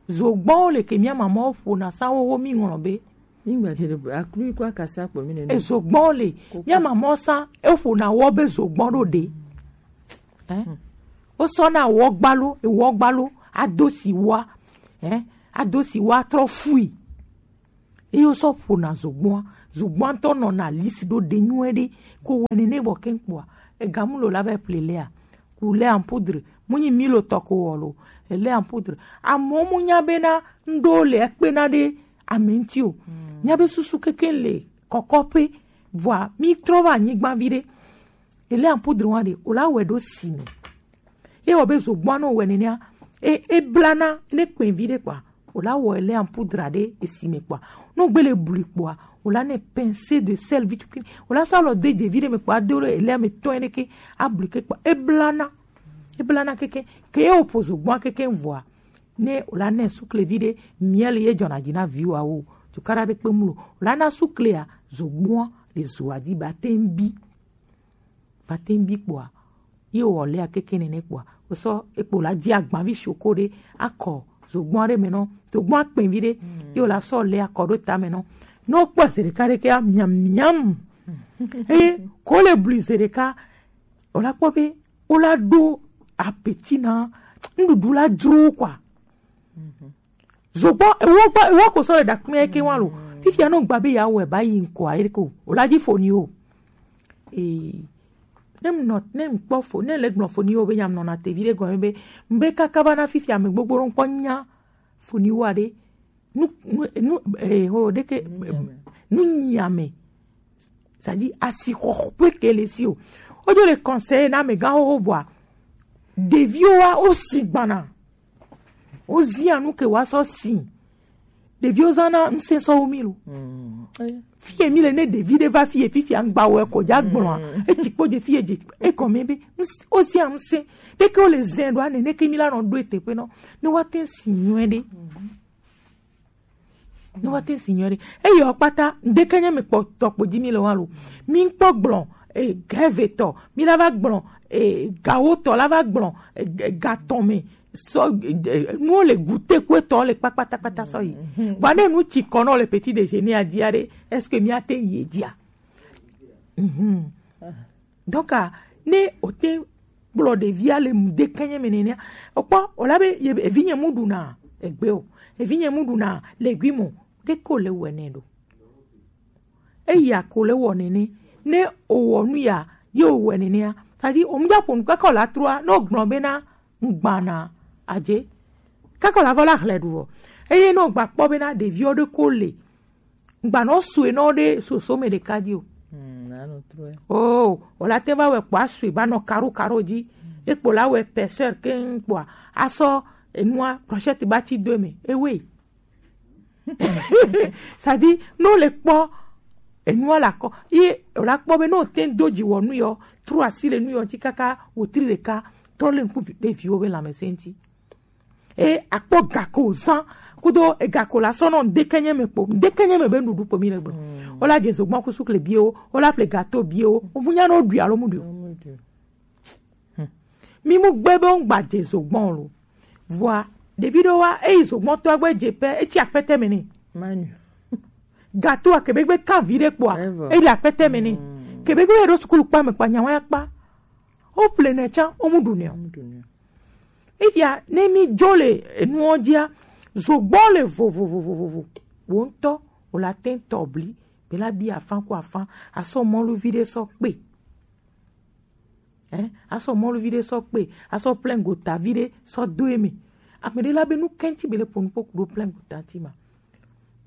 Zogbɔnwo le ke mía mamawo ƒona sa wowo mi ŋlɔ be. Mígba te ɖe aklu yi kɔ akasa kpɔ mi nene. Ezogbɔnwo le mía mamawo sa eƒona wɔ be zogbɔn ɖo ɖe. Wosɔ na wɔ gbalo ewɔ gbalo ado si wa ado si wa trɔ fui. Ye wo sɔ ƒona zogbɔa. Zogbɔa ŋutɔ nɔna lisi ɖo ɖe nyuie ɖe. Ko wɔ nene bɔ keŋ kpɔa, ega mu lo la va ple lea, ku lait en poudre, mu nyi mi lo tɔ ko wɔ lo, lait en poudre. Amewo mu nya bena ŋɖo le ekpena ɖe ame ŋuti o. Nya be susu kekeŋ le kɔkɔƒe, vɔa mi trɔ va anyigba vi ɖe. Lait en poudre wa ɖe, o la wɛ ɖo si me. Ye wɔ be zogbɔa nɔ wɛ nenea, e, e blana ne kpɛn vi ɖe kpɔa, o la wɔ lait en poudre ɖe esi me kpɔa. No gbe le bli kpɔa, o la ne pincée de sel vi tukui, o la sɔ alɔ de dze vi ɖe me kpɔa, do ɖe lait me tɔn ɖe ke, abli ke kpɔa, e blana, e blana keke, ke ye o ƒo zogbɔa keke vɔa, ne o la ne sukle vi ɖe, miel ye dzɔna dzi na viwa wo, tukara ɖe kpe mu lo, o la na suklea, zogbɔa ɖe zoa dzi ba te ŋbi. Ba te ŋbi kpɔa, ye wɔ lait keke nene kpɔa, o sɔ ekpo la dzi agbavi shoko ɖe, akɔ zogbɔn ɖe me nɔ, zogbɔn akpɛn vi ɖe, ye o la sɔ lait akɔ ɖo ta me nɔ. Ne o kpɔ ze ɖeka ɖe ke miam miam. Eye ko le bli ze ɖeka, o la kpɔ be o la ɖo apeti na nuɖuɖu la dzro kpɔa. Zogbɔ ewo gba ewo ko sɔ le ɖakpɛ ke wa lo. Fifia no gba be ya wɛ ba yi ŋkɔ ayi ko. O la dzi foni o. Eh, ne m nɔ, ne m kpɔ fo, ne le gblɔ foni o be ya m nɔ na tevi ɖe gɔme be, m be kaka va na fifia me gbogbo ɖo ŋkpɔ nya foni wa ɖe. Nu, nu, nu, eh, ho, ɖeke, nu nyi ame. C'est-à-dire, asixɔxɔƒe ke le si o. Wodzo le conseiller na amegãwo bɔa, ɖeviwo wa, wosi gbana. Wozia nu ke woasɔ si. Ɖeviwo zãna ŋusẽ sɔ wu mí lo. Fie mí le ne ɖevi ɖe va fie fifia ŋgba wɔ ko dza gblɔa. Etsi kpo dze fie dze egɔme be ŋus-, wozia ŋusẽ. Ɖeke wole zẽ ɖoa nene ke mí la nɔ ɖo eteƒe nɔ. Ne woate si nyuie ɖe. Ne woate si nyuie ɖe. Eye wo kpata, ŋdeke nye mi kpɔ tɔ kpo dzi mi le wa lo. Mi ŋkpɔ gblɔ, eh, gɛve tɔ, mi la va gblɔ, eh, gawo tɔ la va gblɔ, eh, ga tɔ me. Sɔ, eh, nuwo le gute kue tɔ le kpakpata kpata sɔ yi. Vɔ ne nu tsi kɔ nɔ le petit déjeuner a dia ɖe, est-ce que mi ate yi dia? Mhm. Donc, ah, ne o te kplɔ ɖevia le ŋdeke nye me nenea, o kpɔ, o la be, ye, evi nye mu ɖuna egbe o, evi nye mu ɖuna legume o, ɖeke o le wɛ nɛ ɖo. Eya ko le wɔ nene, ne o wɔ nu ya, ye o wɛ nenea, c'est-à-dire, o mu dza ƒo nu kaka o la trua, ne o gblɔ bena, ŋgbana adze. Kaka o la va la hlɛ ɖu vɔ. Eye ne o gba kpɔ bena ɖeviwo ɖe ko le, ŋgbanɔ sue nɔ ɖe soso me ɖeka dzi o. Oh, o la te va wɛ kpɔ asue ba nɔ karo karo dzi. Ekpo la wɛ pɛsɛr keŋ kpɔa, asɔ enua brochette ba tsi do eme. Ewe. C'est-à-dire, ne o le kpɔ enua la kɔ, ye o la kpɔ be ne o te do dzi wɔ nu yɔ, tro asi le nu yɔ ŋuti kaka wotri ɖeka, trɔ le ŋku vi-, ɖe viwo be lãmesẽ ŋuti. E akpɔ gako zã kudo egako la sɔ nɔ ŋdeke nye me kpo, ŋdeke nye me be nuɖuɖu kpo mi le gbe. O la dze zogbɔn ku sukle biewo, o la ƒle gato biewo, o mu nya no ɖui alo mu ɖui o. Mi mu gbe be ŋgba dze zogbɔn lo. Vɔa, ɖevi ɖewo wa, eyi zogbɔn tɔ gbe dze pɛ, etsi akpɛtɛ me nɛ. Manu. Gato a kebe gbe kan vi ɖe kpɔa, eyi akpɛtɛ me nɛ. Kebe gbe ɖo sukulu kpa me kpa nyawa ya kpa. O ƒle nɛ tsã, o mu ɖu nɛ o. Eya, ne mi dzo le enuwo dzia, zogbɔ le vovovovovovo. Wo ŋutɔ, o la te tɔ bli, be la bi afã ku afã, asɔ mɔluvi ɖe sɔ kpe. Eh, asɔ mɔluvi ɖe sɔ kpe, asɔ plein gota vi ɖe sɔ do eme. Ame ɖe la be nu kɛnti be le ƒo nu kpo ku ɖo plein gota ti ma.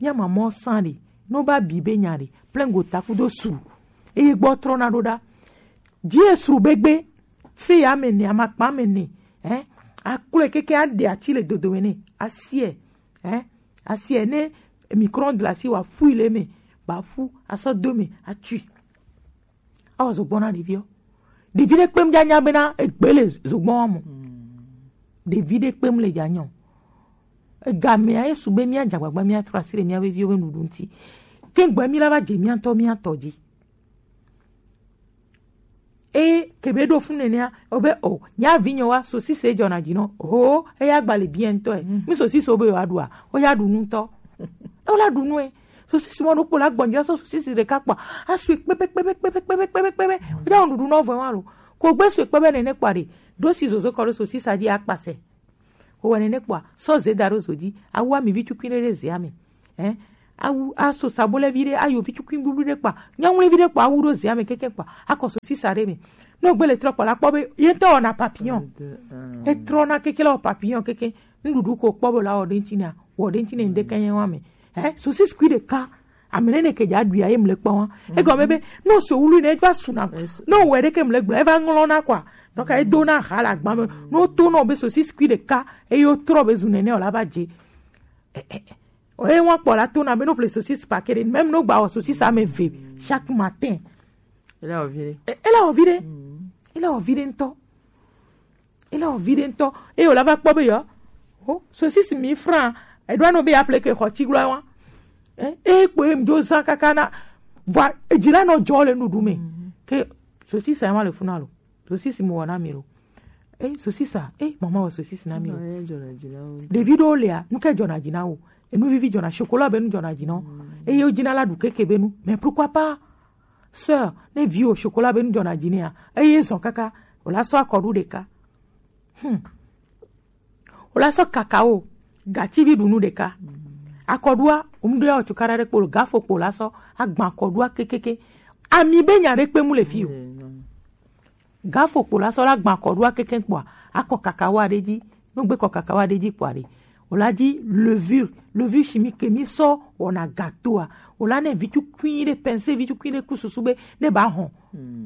Mía mamɔ sã ɖe, no ba bi be nya ɖe, plein gota kudo sru. Eye gbɔ trɔna ɖo ɖa. Dzi esru be gbe, fe ya me ne, amakpa me ne, eh? Aklɔe keke aɖe ati le dodome ne, asiɛ, eh? Asiɛ ne micron glace wa fui le me, ba fu, asɔ do me, atui. Awɔ zogbɔn na ɖeviwo. Ɖevi ɖe kpem dza nya bena egbe le zogbɔn wa mo. Ɖevi ɖe kpem le dza nyɔ. Egamea ye su be mía dze agbagba mía trɔ asi ɖe mía veviwo be nuɖuɖu ŋuti. Ke gbe mí la va dze mía ŋutɔ mía tɔ dzi. Eye kebe ɖo fun nenea, o be o, nya vi nyɔ wa, sosise dzɔna dzi nɔ. Ho, eya gba le bien ŋutɔ e. Mi sosise o be yewoaɖua, o ya ɖu nu ŋutɔ. Ewo la ɖu nu e. Sosisi mɔ ɖokpo la gbɔn dzi la sɔ sosisi ɖeka kpɔ. Asui kpɛpɛ kpɛpɛ kpɛpɛ kpɛpɛ kpɛpɛ kpɛpɛ. Wodza wɔn ɖuɖu nɔ vɔ wa lo. Ko gbe sui kpɛpɛ nene kpɔ ɖe. Ɖo si zozo kɔ ɖo sosisa dzi akpasɛ. Wowɔ nene kpɔa, sɔ ze da ɖo zo dzi. Awu amivi tukui ɖe ɖe zea me. Eh? awu, aso sabo lɛ vi ɖe, ayo vi tukui bublu ɖe kpa, nyawle vi ɖe kpa, awu ɖo zea me keke kpa, akɔ sosisa ɖe me. Ne wògbe le trɔ kpɔ la, kpɔ be ye ŋutɔ wɔna papillon. Etrɔna keke la wɔ papillon keke. Nuɖuɖu ko kpɔ be la wɔ ɖe ŋuti nea, wɔ ɖe ŋuti ne ŋɖe ke nye wa me. Eh, sosisi kui ɖeka. Ame nene ke dza ɖui aye mle kpɔ wa. Egɔme be, no so wulu ne va suna. No wɔ ɖe ke mle gblɔ, eva ŋlɔ na kwa. Donc, edo na ha la gba me. No to no be sosisi kui ɖeka, eye wo trɔ be zu nene o la va dze. Eh, eh, eh. Oye wa kpɔ la to na be no ple sosisi paquet ɖe, même no gba wɔ sosisi ame ve chaque matin. Ele wɔ vi ɖe. E-, ele wɔ vi ɖe. Ele wɔ vi ɖe ŋutɔ. Ele wɔ vi ɖe ŋutɔ. Eye wòla va kpɔ be yɔ. O, sosisi mi franc. Eɖo anɔ be ya ple ke xɔ tsi gblɔ wa. Eh, e kpo ye ŋdzo zã kaka na. Vɔa, edzi la nɔ dzɔ le nuɖuɖu me. Ke sosisi ya ma le funa lo. Sosisi mo wɔ na mi lo. Eh, sosisa. Eh, mama wɔ sosisi na mi lo. Ɖevi ɖewo lia, nu ke dzɔna dzi na wo. Enu vivi dzɔna, chocolat be nu dzɔna dzi na wo. Eye wo dzina la ɖu keke be nu. Mais pourquoi pas? Sœur, ne vi o chocolat be nu dzɔna dzi nea, eye zɔn kaka, o la sɔ akɔɖu ɖeka. Hmm. O la sɔ cacao, gativi ɖu nu ɖeka. Akɔɖua, o mu ɖo ya o cukaɖa ɖe kpo lo, gafo kpo la sɔ, agba akɔɖua kekeke. Ami be nya ɖe kpe mu le fi o. Gafo kpo la sɔ la gba akɔɖua keke kpoa, akɔ cacao ɖe dzi. No gbe kɔ cacao ɖe dzi kpoa ɖe, o la dzi levure, levure chimique ke mi sɔ wɔna gâteau a, o la ne vitukui ɖe, pince vitukui ɖe ku susu be ne ba hɔn.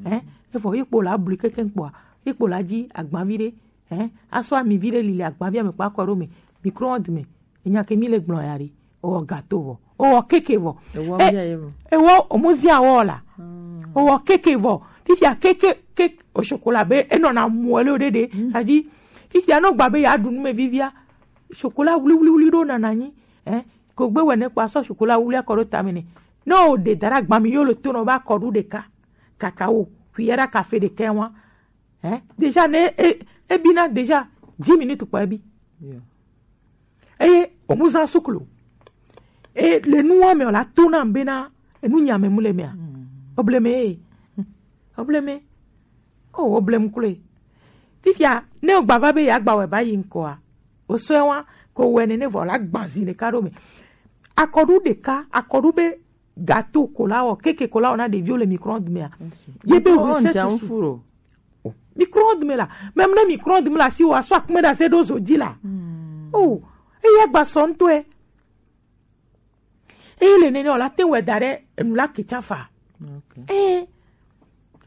Hein? Efɔ ye kpo la blu keke kpoa, ye kpo la dzi agbavi ɖe, hein? Asɔ ami vi ɖe li le agbavia me kpa kɔ ɖo me, micro-onde me. Enya ke mi le gblɔ ya ɖe. O wɔ gâteau vɔ. O wɔ keke vɔ. Ewɔ Eh, bia ye vɔ. Ewɔ, o mu zia wɔ la. O wɔ keke vɔ. Fifia keke, keke, o chocolat be, e nɔ na mu le o ɖe ɖe. Tadi, fifia no gba be ya ɖu nu me vivia. Chocolat wuli, wuli, wuli ɖo nana nyi. Eh, ko gbe wɛ ne kpa sɔ chocolat wuli akɔ ɖo tame ne. No ɖe dara gba mi yo le to nɔ ba kɔɖu ɖeka. Cacao, cuillère à café ɖeka wa. Hein? Déjà, ne, e, e bina déjà dix minutes kpa e bi. Yeah. Eye o mu zã suklu. E le nua me o la to na be na enu nya me mu le mea. Obleme e. Obleme. O oblem kule. Fifia, ne o gba va be ya gba wɛ ba yi ŋkɔa. O sɔe wa, ko wɛ nene vɔ la gbazi ɖeka ɖo me. Akɔɖu ɖeka, akɔɖu be gâteau ko la wɔ, keke ko la wɔ na ɖeviwo le micro-onde mea. Ye be recette su. Micro-onde me la. Même ne micro-onde me la si wa sɔ akme da se ɖo zo dzi la. Oh, eya gba sɔ ŋutɔe. Eye le nene o la te wɛ da ɖe enu la ke tsa fa. Eh,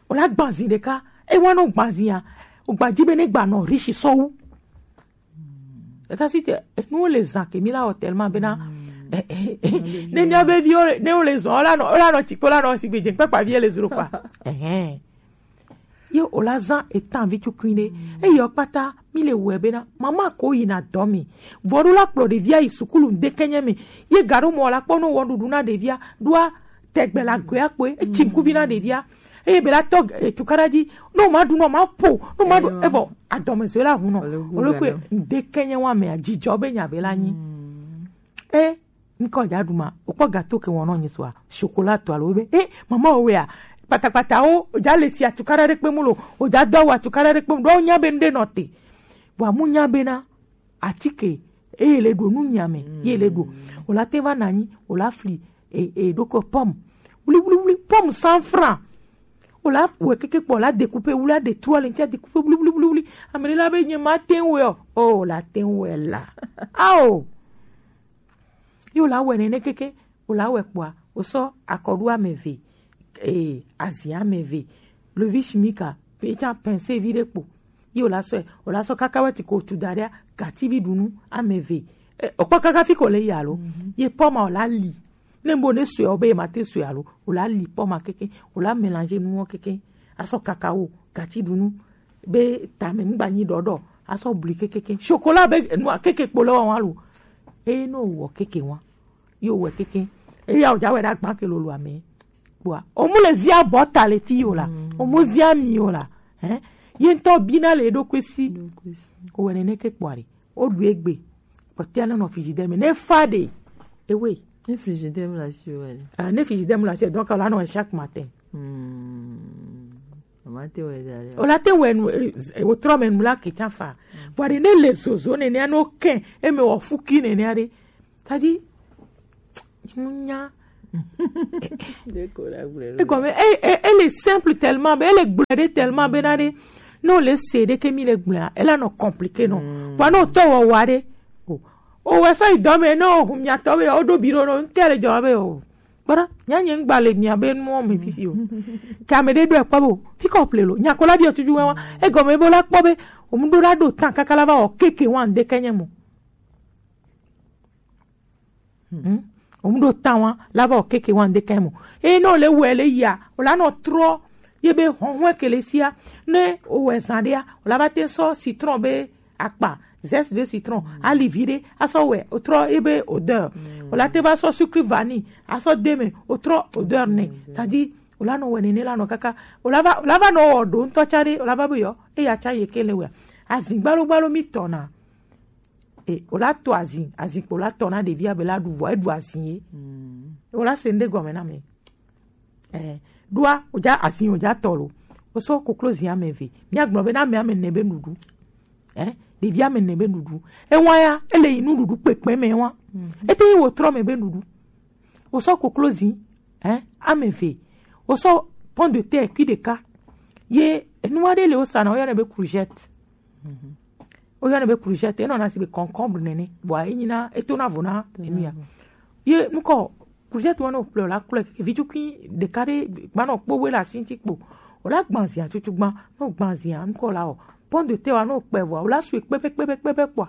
o la gbazi ɖeka. E wa no gbazia. O gbaji be ne gba nɔ riche sɔwu. Eta si te, eh, nous les gens que mi la hôtel ma bena. Eh, eh, eh, ne mi abe vi o, ne o les gens, o la no, o la no tiko la no si be je kpakpa vi les zero kwa. Eh, eh. Ye o la zã etan vi tukui ɖe. Eye o kpata mi le wɛ bena. Mama ko yi na dɔ mi. Vɔɖu la kplɔ ɖevia yi sukulu ŋde kenye me. Ye gaɖo mɔ la kpɔ no wɔ ɖuɖu na ɖevia. Ɖoa tɛgbɛ la goe akpoe. Etsi ŋkuvi na ɖevia. Eye be la tɔ, eh, tukaɖa dzi. No ma ɖu, no ma po. No ma ɖu. Evɔ adɔmezɔe la hu nɔ. Ole kpe ŋde kenye wa me a dzidzɔ be nya be la nyi. Eh, ŋkɔ dza ɖu ma, wokpɔ gato ke wɔnɔ nyi soa, chocolat to alo be, eh, mama o wea, kpatakpata o, o dza le si atukaɖa ɖe kpe mu lo, o dza do awu atukaɖa ɖe kpe mu, ɖo o nya be ŋɖe nɔ te. Vɔa mu nya be na, atike, eye le ɖo nu nya me, ye le ɖo. O la te va na nyi, o la fli, e, e, ɖo ko pomme. Wli, wli, wli, pomme cent francs. O la wɛ keke kpɔ, o la découper, wli a de trua le ŋti a découper, wli, wli, wli, wli. Ame ɖe la be nye ma te ŋu wɛ o. O, o la te ŋu wɛ la. Ao. Ye wòle awɔe nene keke, wòle awɔe kpɔa, wòsɔ akɔɖu ame eve, ee, azi ame eve, levi shimika, pe tsã pince vi ɖe kpo. Ye wòle asɔe, wòle asɔ kaka wɛ ti ko tu da ɖea, gativi ɖunu ame eve. E, wòkpɔ kaka fi ko le yi alo? Mhm. Ye pomme wòle ali. Ne bo ne sɔe, wòbe ye ma te sɔe alo? Wòle ali pomme keke, wòle amélanger nuwo keke. Asɔ cacao, gati ɖunu, be tame ŋgba nyi ɖɔɖɔ, asɔ bli kekeke. Chocolat be nua keke kpo le wa wa lo. Eye no wɔ keke wa. Yo wɔ keke. Eye ya o ja wɛ ɖa gba ke lolo ame. Kpoa, o mu le zia bɔ ta le ti yo la. Mm. O mu zia mi yo la. Hein? Ye ŋutɔ bina le ɖokui si. Ɖokui si. O wɛ nene ke kpoa ɖe. O ɖu egbe. Kpɔtɔa ne nɔ frigidaire me. Ne fa ɖe. Ewe. Ne frigidaire me la si o wɛ. Ah, ne frigidaire me la si, donc, la nɔ chaque matin. Hmm. Mama te wɛ da ɖe. O la te wɛ nu, eh, eh, o trɔ me nu la ke tsa fa. Vɔ ɖe ne le zozo nene, no ke, e me wɔ fuki nene ɖe. C'est-à-dire, Ŋu nya. Egɔme, e, e, ele simple tellement be, ele gblɔe ɖe tellement be na ɖe, ne wòle se ɖe ke mi le gblɔa, ela nɔ compliqué nɔ. Vɔa ne wòtɔ wɔwɔa ɖe, o, o wɔ sɔ yi dɔ me, ne wòhu miatɔ be, woɖo bi ɖo nɔ, ŋutɔ le dzɔ be, o, kpɔɖa, nya nye ŋgba le mia be nuwo me fifi o. Ke ame ɖe ɖo ekpɔ be, o, fi kɔ ple lo, nya ko la biɔ tuju wɛwa, egɔme be la kpɔ be, o mu ɖo la ɖo tan kaka la va wɔ keke wan ɖe ke nye mo. Hmm. Wo mu ɖo tan wa la va o keke wa ŋde kan mo. Eye ne wòle wɔe le yia, wòla nɔ trɔ ye be hɔhɔe ke le sia. Ne wòwɔe zã ɖea, wòla va te sɔ citron be akpa, zeste de citron, ali vi ɖe, asɔ wɛ, wòtrɔ ye be odeur. Wòla te va sɔ sucre vanille, asɔ de me, wòtrɔ odeur nɛ. C'est-à-dire, wòla nɔ wɛ nene la nɔ kaka. Wòla va, wòla va nɔ wɔ ɖo ŋutɔ tsa ɖe, wòla va be yɔ, eya tsa ye ke le wɛa. Azin gbalo gbalo mi tɔna. E, wòla to azin, azin kpo la tɔ na ɖevia be la ɖu vɔ, eɖu azin ye. Wòla se ŋɖe gɔme na me. Eh, ɖoa, wòdza azin, wòdza tɔ lo. Wosɔ koklozi ame eve. Míagblɔ be na ame ame ene be nuɖuɖu. Eh, ɖevi ame ene be nuɖuɖu. Ewa ya, ele yi nuɖuɖu kpekpe me wa. Ete yi wòtrɔ me be nuɖuɖu. Wosɔ koklozi, eh, ame eve. Wosɔ pomme de terre kui ɖeka. Ye, enua ɖe le wosana, woyɔnɛ be courgette. Woyɔnɛ be courgette, enɔna si be concombre nene, vɔa enyina, etona vo na enu ya. Ye nukɔ courgette wa ne wòkplɔe la klɔe, vi tukui ɖeka ɖe gbanɔ kpo we le asi ŋuti kpo. Wòla gbã zia tutu gbã, ne wògbã zia nukɔ la o. Pomme de terre wa ne wòkpɛ vɔa, wòla sue kpɛbɛ, kpɛbɛ, kpɛbɛ kpɔa.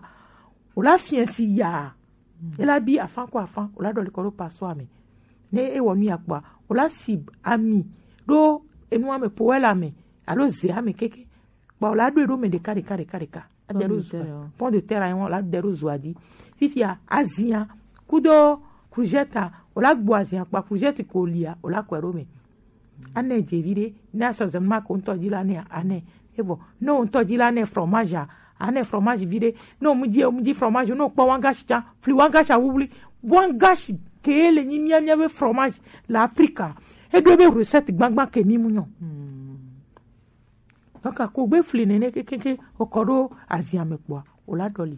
Wòla fiɛ si yaa. Ela bi afã ko afã, wòla ɖɔli kɔ ɖo passoire me. Ne ewɔ nu ya kpɔa, wòla si ami ɖo enua me, poêle me, alo zea me keke. Kpɔ la ɖo eɖo me ɖeka ɖeka ɖeka ɖeka. Ade ɖo zua. Pomme de terre ayi wɔn la de ɖo zua dzi. Fifia azia kudo courgette, wòla gbo azia kpa courgette ko lia, wòla kɔe ɖo me. Anɛ dze vi ɖe, ne asɔ zema ko ŋutɔ dzi la nɛ anɛ. Evɔ ne wo ŋutɔ dzi la nɛ fromage a, anɛ fromage vi ɖe. Ne wo mu dzi, wo mu dzi fromage, ne wo kpɔ wangashi tsa, fli wangashi awuwli, wangashi ke le nyi mia mia be fromage le Afrika. Eɖo be recette gbagba ke mi mu nyɔ. Donc, ko gbe fli nene kekeke, wokɔ ɖo azia me kpɔa, wòla ɖɔli.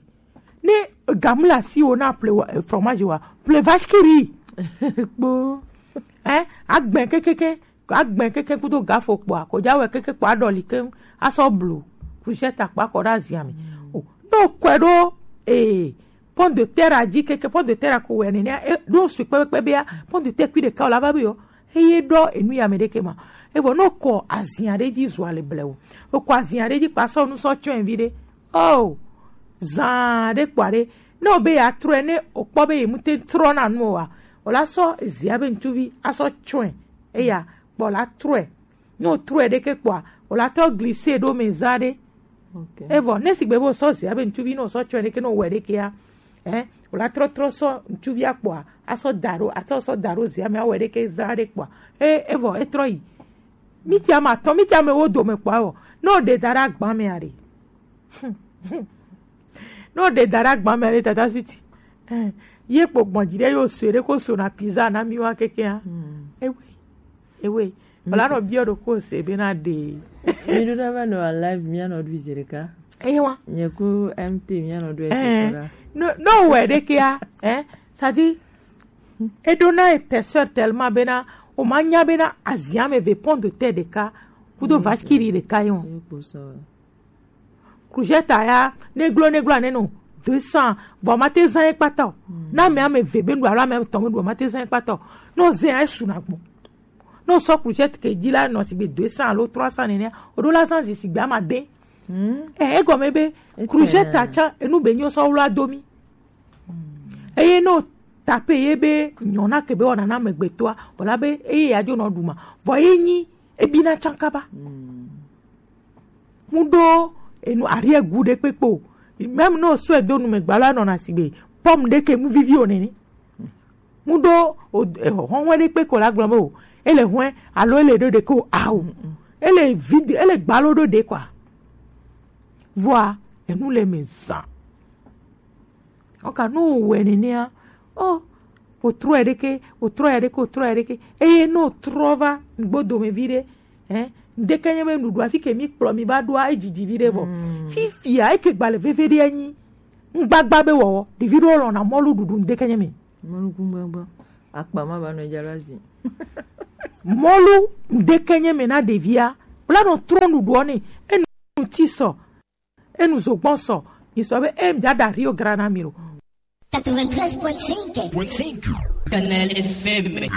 Ne gamu le asi wo na ple wa, eh, fromage wa, ple vache qui rit. Kpo. Eh, agbɛ kekeke, agbɛ keke kudo gafo kpɔa, ko dza wɛ keke kpɔa ɖɔli ke, asɔ blu, courgette akpa kɔ ɖe azia me. O, ne wokɔe ɖo, eh, pomme de terre a dzi keke, pomme de terre a ko wɛ nene, eh, ɖo sui kpekpe bea, pomme de terre kui ɖeka wòla va be yɔ. Eye ɖɔ enu ya me ɖeke ma. Evɔ no kɔ azia ɖe dzi zua le blewo. O kɔ azia ɖe dzi kpa sɔ nu sɔ tsɔe vi ɖe. Oh, zan ɖe kpɔa ɖe. Ne o be ya trɔe ne o kpɔ be ye mu te trɔ na nu o wa. O la sɔ zia be ŋutsuvi asɔ tsɔe. Eya kpɔ la trɔe. Ne o trɔe ɖeke kpɔa, o la tɔ glise ɖo me za ɖe. Okay. Evɔ ne sigbe be o sɔ zia be ŋutsuvi ne o sɔ tsɔe ɖeke ne o wɛ ɖekea. Eh, wòla trɔ trɔ sɔ ŋutsuvi akpɔa, asɔ da ɖo, asɔ sɔ da ɖo zia me awɔe ɖeke za ɖe kpɔa. E, evɔ etrɔ yi. Miti ma tɔ, miti ame wo dome kpɔa wɔ. Ne o ɖe da ɖe agba me aɖe. Ne o ɖe da ɖe agba me aɖe tata suti. Eh, ye kpo gbɔn dzi ɖe yo sue ɖe ko so na pizza na mi wa kekea. Ewe. Ewe. Wòla nɔ biɔ ɖo ko se be na ɖe. Mi ɖo na va nɔ live, mi anɔ ɖu zi ɖeka. Eye wa. Nye ku M T mi anɔ ɖu ese kora. No, no wɛ ɖekea, eh, c'est-à-dire, eɖo na épaisseur tellement bena, o ma nya bena azia me ve pomme de terre ɖeka, kudo vache qui rit ɖeka ye o. Ye kpo sɔ. Courgette ya, neglo, neglo aneno, deux cents, vɔ ma te zan ye kpata o. Na ame ame ve be nu alo ame etɔ̃ be nu ma te zan ye kpata o. No zan ya esu na gbɔ. Ne wosɔ courgette ke dzi la nɔ sigbe deux cents alo trois cents nene, woɖo la zã zi sigbe amade. Eh, egɔme be courgette atsa enu be nyo sɔ wla do mi. Eye ne wotape ye be nyɔna ke be wɔna na amegbetɔa, wòla be eye ya dzo nɔ ɖu ma. Vɔ ye nyi ebina tsankaba. Mu ɖo enu arrière goût ɖe kpekpe o. Même ne wosɔe do nu me gba la nɔna sigbe pomme ɖe ke mu vivi o nene. Mu ɖo o, eh, hɔhɔe ɖe kpe ko la gblɔ be o, ele hɔe alo ele ɖo ɖe ko awu. Ele vide, ele gbalo ɖo ɖe kɔa. Vɔa, enu le me zã. Ɔka no wɛ nenea, o, o trɔ ya ɖeke, o trɔ ya ɖeke, o trɔ ya ɖeke. Eye no trɔ va gbodo me vi ɖe, eh, ŋdeke nye be nuɖuɖu afi ke mi kplɔ mi va ɖoa, edzidzi vi ɖe vɔ. Fifia, eke gbalẽ veve ɖe anyi. Ŋgbagba be wɔwɔ, ɖevi ɖewo lɔna mɔlu ɖuɖu ŋdeke nye me. Mɔlu ŋgbagba. Akpa ma ba nɔ jalo azi. Mɔlu ŋdeke nye me na ɖevia. Kpla nɔ trɔ nuɖuɔ ne. Enu ti sɔ. Enu zogbɔn sɔ. Isɔ be em dada Rio Grana Miro. Quatre-vingt-treize point cinq. Canal F M.